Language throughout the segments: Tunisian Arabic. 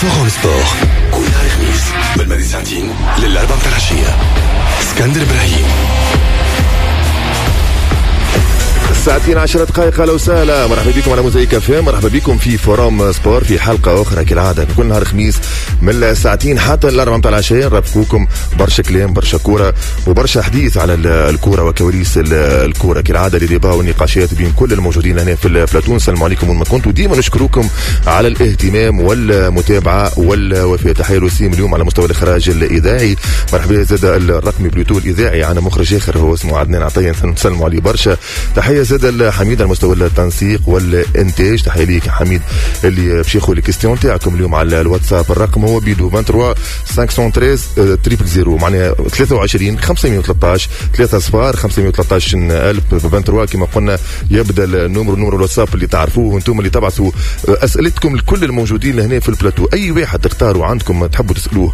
Forum Sport كل نهار خميس من الماضي ساعتين للأربعة متاع العشية. اسكندر إبراهيم. ساعتين 10 دقائق. اهلا وسهلا، مرحبا بكم على موزايك اف ام، مرحبا بكم في Forum Sport في حلقة اخرى كالعادة كل نهار خميس من الساعتين حتى الاربعة متاع العشية. نرافقوكم برشا كلام، برشا كورة وبرشا حديث على الكورة وكواليس الكورة كالعادة، les débats والنقاشات بين كل الموجودين هنا في البلاتون. السلام عليكم وين ما كنتوا، ديما نشكركم على الاهتمام والمتابعة والوفاء. تحية لوسيم اليوم على مستوى الاخراج الاذاعي، مرحبا زاد الرقمي plutôt الاذاعي، عندنا مخرج اخر هو اسمه عدنان عطية، نسلموا عليه برشا. تحية زاد الحميد على مستوى التنسيق والانتاج، تحية ليك حميد اللي باش ياخذ les questions تاعكم اليوم على الواتساب. الرقم هو بيدو 23 513 000، معناها 23 513 3 صفار 513 الف 23 كما قلنا يبدا ال numéro، numéro الواتساب اللي تعرفوه وانتم اللي تبعثوا اسئلتكم لكل الموجودين هنا في البلاتو. اي واحد تختاروا عندكم تحبوا تسالوه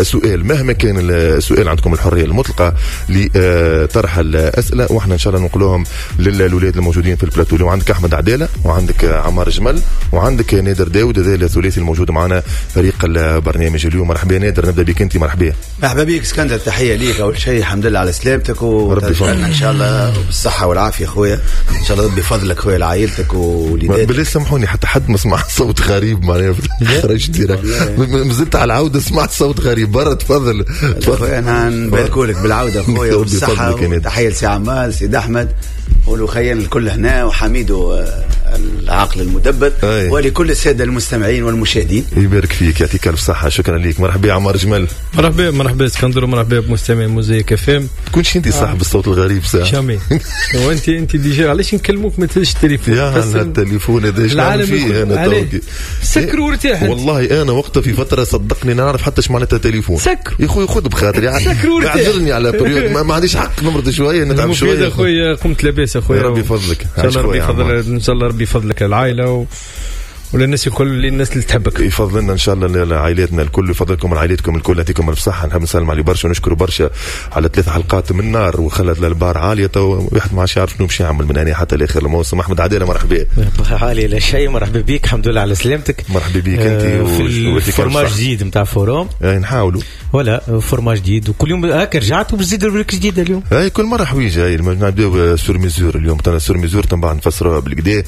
سؤال مهما كان السؤال، عندكم الحرية المطلقة لطرح الاسئلة واحنا ان شاء الله ننقلوهم للولاد الموجودين في البلاتو. اليوم عندك احمد عدالة وعندك عمار جمل وعندك نادر داود، هذا الثلاثي الموجود معنا فريق البرنامج اليوم. مرحبا نادر، نبدا بك انت. مرحبا. مرحبا بك اسكندر، تحية ليك اول شيء، الحمد لله على سلامتك وترجعنا ان شاء الله بالصحة والعافية خويا، ان شاء الله ربي يفضلك خويا لعائلتك ووليداتك. بالله سامحوني حتى حد ما سمع صوت غريب معناها خرجت direct، مازلت على العودة سمعت صوت غريب برا. تفضل تفضل، انا نباركولك بالعودة خويا والصحة. تحية لسي عمال، سيد احمد والوخيان الكل هنا، وحميد العقل المدبر، ولكل السادة المستمعين والمشاهدين. يبارك فيك، يعطيك الف صحة، شكرا لك. مرحبا يا عمار جمال. مرحبا مرحبا اسكندر، ومرحبا بمستمعي موزايك اف ام. تكونش انت صاحب الصوت الغريب ساعة jamais. وانت déjà علاش نكلموك ما تهزش التليفون؟ يا التليفون هذا ايش نعمل فيه انا؟ سكر وارتاح. والله انا وقتها في فترة صدقني نعرف حتى اش معناتها تليفون. سكر يا خويا، خذ بخاطري، سكر وارتاح، اعذرني على période ما عنديش حق نمرض شوية، نتعب شوية. يا خويا قمت لاباس يا خويا، ربي يفضلك. ان شاء الله ربي يفضل، ان شاء الله ربي يفضلك العائلة وللناس الكل، للناس اللي تحبك. يفضلنا ان شاء الله لعائلاتنا الكل، يفضلكم لعائلتكم الكل، يعطيكم الف صحة. نحب نسلم عليه برشا ونشكره برشا على 3 حلقات من نار وخلت البار عالية، تو واحد ما عادش يعرف شنو باش يعمل من هنا حتى لاخر الموسم. احمد عدالة مرحبا. عالية لا شيء، مرحبا بك، الحمد لله على سلامتك. مرحبا بك انت في format جديد نتاع Forum، نحاولوا ولا format جديد وكل يوم هكا رجعت وبزيد rubrique جديدة اليوم. اي كل مرة حويجه، هاي نبداو sur mesure اليوم، sur mesure من بعد نفسروها بالكدا. لا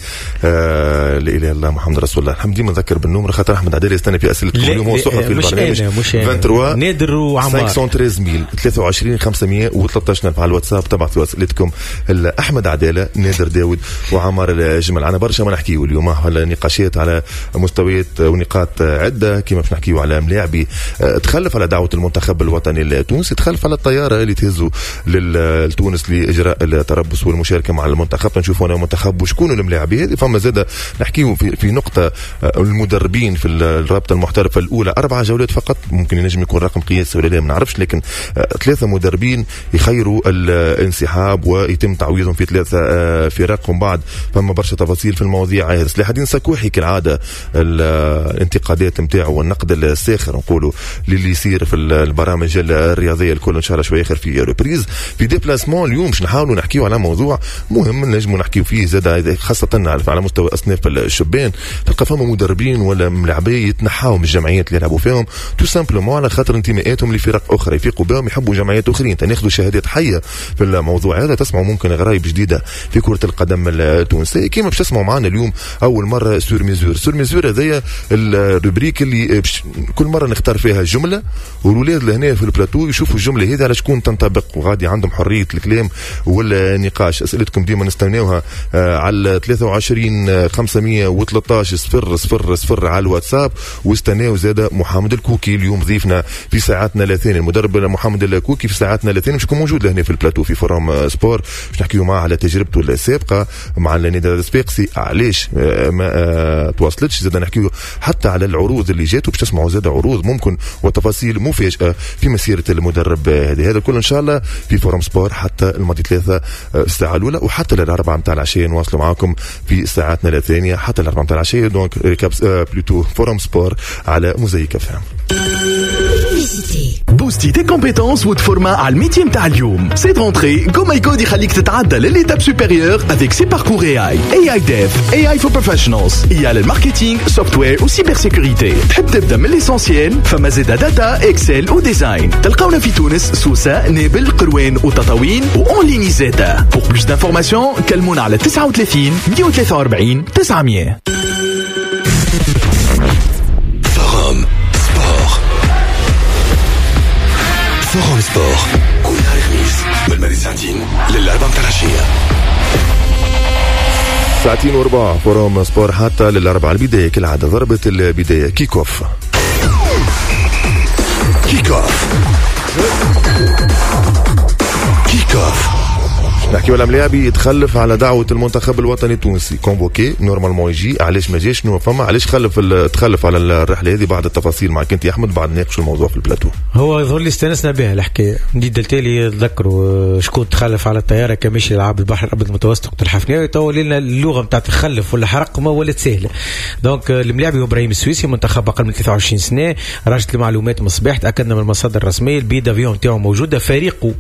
اله الا الله محمد رسول الله. الحمد ديما نذكر بال numéro خاطر احمد عدالة يستنى في اسئلتكم اليوم، هو صحفي في البرنامج. 23 نادر وعمار 513 23 513 على الواتساب تبعثوا اسئلتكم احمد عدالة، نادر داود وعمار الجمل. عنا برشا ما نحكيو اليوم على نقاشات على مستويات ونقاط عده، كيما باش نحكيو على ملاعبي تخلف على دعوه المنتخب الوطني التونسي، تخلف على الطيارة اللي تهزوا لتونس لاجراء التربص والمشاركة مع المنتخب. نشوفوا انا المنتخب وشكون الملاعبي هذه. فما زاد نحكيو في نقطة المدربين في الرابطة المحترفه الاولى، 4 جولات فقط، ممكن ينجم يكون رقم قياسي ولا لا ما نعرفش، لكن 3 مدربين يخيروا الانسحاب ويتم تعويضهم في 3 فرق. ومن بعد فما برشا تفاصيل في المواضيع هذه. سلاح الدين سكوحي كالعادة الانتقادات نتاعو والنقد الساخر نقولوا للي يصير في البرامج الرياضية الكل، ان شاء الله شوية اخر في reprise في déplacement. اليوم باش نحاولوا نحكيو على موضوع مهم نجموا نحكيو فيه زاد، خاصة على مستوى اصناف الشبان. تلقى فما مدربين ولا ملاعبيه يتنحاو من الجمعيات اللي يلعبوا فيهم tout simplement على خاطر انتماءاتهم لفرق اخرى، يفيقوا بهم يحبوا جمعيات اخرين. ناخذوا شهادات حيه في الموضوع هذا، تسمعوا ممكن غرايب جديدة في كره القدم التونسية كيما باش تسمعوا معنا اليوم اول مرة sur mesure. sur mesure هذايا ال rubrique اللي كل مرة نختار فيها جملة، والولاد لهنا في البلاتو يشوفوا الجملة هذه على شكون تنطبق، وغادي عندهم حرية الكلام والنقاش. اسئلتكم ديما نستناوها على 23 513 0 0 0 على الواتساب. واستناو زاد محمد الكوكي اليوم ضيفنا في ساعاتنا الاثنين، المدرب محمد الكوكي في ساعاتنا الاثنين باش يكون موجود لهنا في البلاتو في Forum Sport، باش نحكيو معاه على تجربته السابقة مع النادي الصفاقسي، علاش ما تواصلتش. زاد نحكيو حتى على العروض اللي جاتو، باش تسمعوا زاد عروض ممكن وتفاصيل مفاجاة في مسيره المدرب هذا. هذا كله ان شاء الله في Forum Sport حتى الماضي 3 الساعة الاولى وحتى للاربعه نتاع العشية. نواصلوا معاكم في ساعاتنا الثانية حتى الاربعة نتاع العشية. donc récap plutôt Forum Sport على موزايك اف ام. تبوستي tes compétences وتفورما على ال métier نتاع اليوم. Cette rentrée GoMyCode يخليك تتعدى لل étape supérieure avec ses parcours AI, AI Dev, AI for Professionals, IA لل marketing, software و cybersécurité. تحب تبدا من l'essentiel؟ فما زيدا data, Excel و design. تلقاونا في تونس, سوسة, نابل, قروان وتطاوين و en ligne زادا. Pour plus d'informations كلمونا على 39 143 900. Forum Sport. Forum Sport كل نهار خميس من الماضي ساعتين للأربعة متاع العشية. ساعتين وربع Forum Sport حتى للأربعة. البداية كالعادة ضربة البداية kick-off. Kick-off. Kick-off. نحكيو على ملاعبي يتخلف على دعوة المنتخب الوطني التونسي، convoqué normalement يجي، علاش ما جاش؟ شنو فما؟ علاش خلف تخلف على الرحلة هذه؟ بعد التفاصيل معك انت يا احمد، بعد نناقشوا الموضوع في البلاتو. هو يظهر لي استانسنا بها الحكاية، نديد التالي تذكروا شكون تخلف على الطيارة كان ماشي يلعب البحر الابيض المتوسط وقت الحفناوي، تو لنا اللغة نتاع تخلف ولا حرق ما ولات سهلة. donc الملاعبي هو ابراهيم السويسي، منتخب اقل من 23 سنة، راجت المعلومات من الصباح، تاكدنا من المصادر الرسمية، ال billet d'avion نتاعو موجودة، فريقه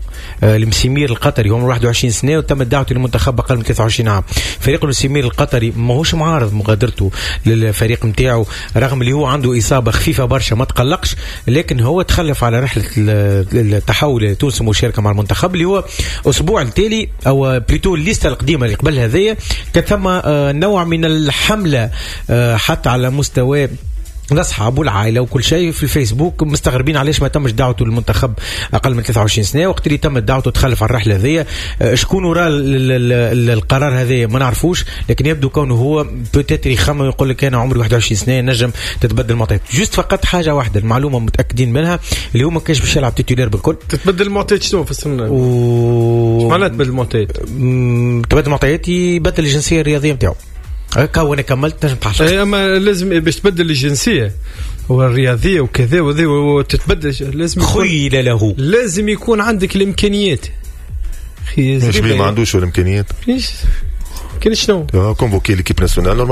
المسيمير القطري عمره 21 سنة وتم دعوته للمنتخب اقل من 23 عام. فريق المسيمير القطري ماهوش معارض مغادرته للفريق نتاعو رغم اللي هو عنده اصابه خفيفة برشا ما تقلقش، لكن هو تخلف على رحله التحول لتونس المشاركة مع المنتخب اللي هو اسبوع التالي او plutôt الليستة القديمة اللي قبل هذيا كان ثم نوع من الحملة حتى على مستوى الاصحاب والعائلة وكل شيء في الفيسبوك مستغربين علاش ما تمش دعوته للمنتخب اقل من 23 سنة. وقت اللي تمت دعوته تخلف على الرحلة هذيا، شكون وراء القرار هذايا ما نعرفوش، لكن يبدو كونه هو peut-être يخمم يقول لك انا عمري 21 سنة نجم تتبدل المعطيات. juste فقط حاجة واحدة المعلومة متاكدين منها اللي هو ما كانش باش يلعب titulaire بالكل. تتبدل المعطيات شنو في السنة؟ معناتها تبدل المعطيات؟ تبدل المعطيات يبدل الجنسية الرياضية نتاعو. هكا وانا كملت نجم تعلق. اي اما لازم باش تبدل الجنسية والرياضيه وكذا وذي وتتبدل لازم خيل له، لازم يكون عندك الامكانيات. مش ما عندوش الامكانيات. كاين شنو؟ convoqué l'équipe nationale normalement.